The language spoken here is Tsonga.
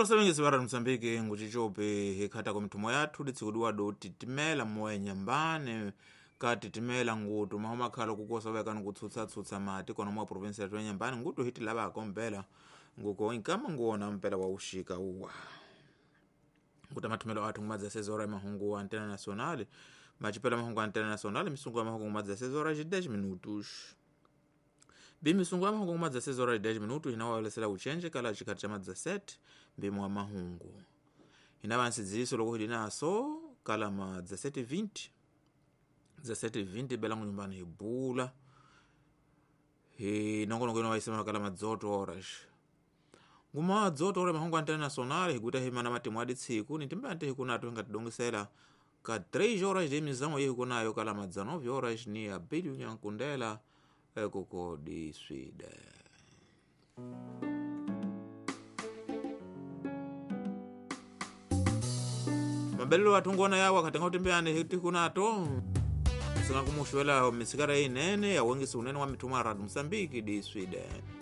Okondo sabengisi va Moçambique ngucicope hikhatako mithumo yathu litsikudiwado titimela moya nyambane ka titimela ngutu maho makhala kukosa vekani kutsutsatsutsa mati kona mwa provinsia yathu ya nyambani ngutu hiti lavako mpela nguko inkama nguwona mpela wa uxika uwa nguta mathumelo athu ngumadza 6 horas mahungu antena nacional macipela mahungu antena nacional misungu ya mahungu ngumadza 6 horas e 10 minutos bimisungu ya mahungu ngumadza 6 horas e 10 minutos inawawelesela uchenje kala chikhathi cha madza 7 mbimo wa mahungu inava nsidziso loko hili naso kala ma 17:20 17:20 belangu nyumbani hibula hi nongonoko ino waisema kala ma 18 horas nguma 18 horas mahungu antena nacional hikuta himana matimu adi tsiku nitimba nte hikunato hingatidongisela ka 3 horas de mizamo ye hikunayo kala ma 19 horas ni Abílio Nyankundela ekoko di Sweden. Mabelelo atungona yawo akatenga utembeane hitikunato singa kumuxwela misikara inene yawengisa unene wa mithuma ya Radio Moçambique di Sweden.